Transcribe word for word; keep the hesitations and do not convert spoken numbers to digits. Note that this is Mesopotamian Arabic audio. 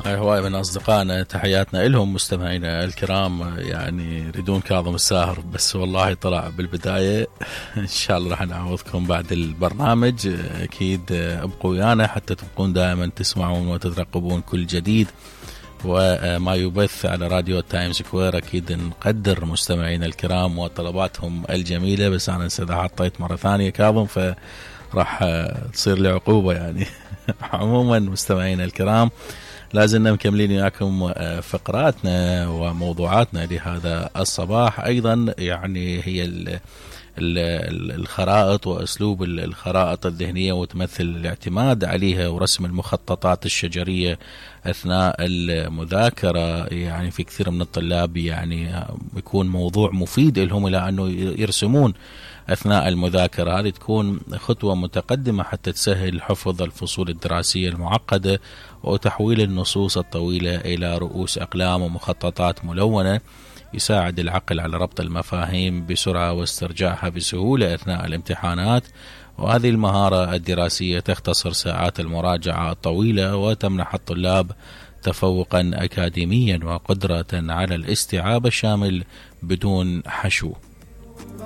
هاي هواي من أصدقائنا، تحياتنا إلهم مستمعينا الكرام. يعني يريدون كاظم الساهر بس والله طلع بالبداية. إن شاء الله راح نعوضكم بعد البرنامج. أكيد ابقوا ويانا حتى تبقون دائما تسمعون وتترقبون كل جديد وما يبث على راديو تايم سكوير. أكيد نقدر مستمعينا الكرام وطلباتهم الجميلة، بس أنا إذا حطيت مرة ثانية كاظم فراح تصير لي عقوبة يعني. عموما مستمعينا الكرام، لازلنا مكملين وياكم فقراتنا وموضوعاتنا لهذا الصباح. أيضا يعني هي ال الخرائط وأسلوب الخرائط الذهنية، وتمثل الاعتماد عليها ورسم المخططات الشجرية أثناء المذاكرة. يعني في كثير من الطلاب يعني يكون موضوع مفيد لهم إلى أنه يرسمون أثناء المذاكرة. هذه تكون خطوة متقدمة حتى تسهل حفظ الفصول الدراسية المعقدة وتحويل النصوص الطويلة إلى رؤوس أقلام ومخططات ملونة، يساعد العقل على ربط المفاهيم بسرعة واسترجاعها بسهولة أثناء الامتحانات. وهذه المهارة الدراسية تختصر ساعات المراجعة الطويلة وتمنح الطلاب تفوقا أكاديميا وقدرة على الاستيعاب الشامل بدون حشو.